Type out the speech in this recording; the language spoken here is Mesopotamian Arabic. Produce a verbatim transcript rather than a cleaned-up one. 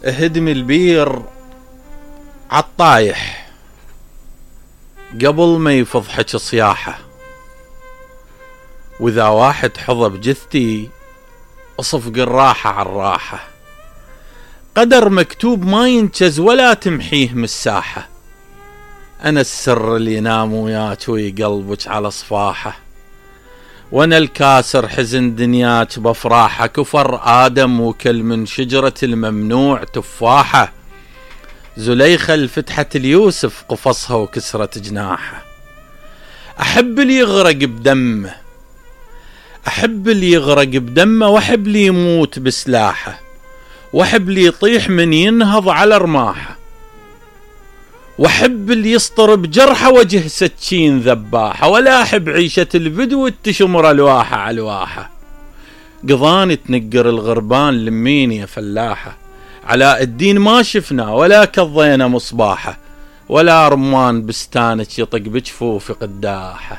اهدمي البير عالطايح قبل ما يفضحك صياحه، واذا واحد حظى بجثتي اصفق الراحة عالراحة، قدر مكتوب ما ينجز ولا تمحيه من الساحة، انا السر اللي ينام وياك ويقلبك على صفاحه، وانا الكاسر حزن دنياك بافراحه، كفر ادم وكل من شجرة الممنوع تفاحه، زليخة الفتحة اليوسف قفصها وكسرت جناحه، احب اللي يغرق بدمه احب اللي يغرق بدمه واحب اللي يموت بسلاحه، واحب اللي يطيح من ينهض على رماحه، واحب اللي يسطر بجرحه وجه سكين ذباحه، ولا احب عيشة البدو تشمر الواحة على الواحة، قضاني تنقر الغربان لمين يا فلاحة، علاء الدين ما شفنا ولا كضينا مصباحه، ولا رمان بستانك يطق بجفوف قداحه.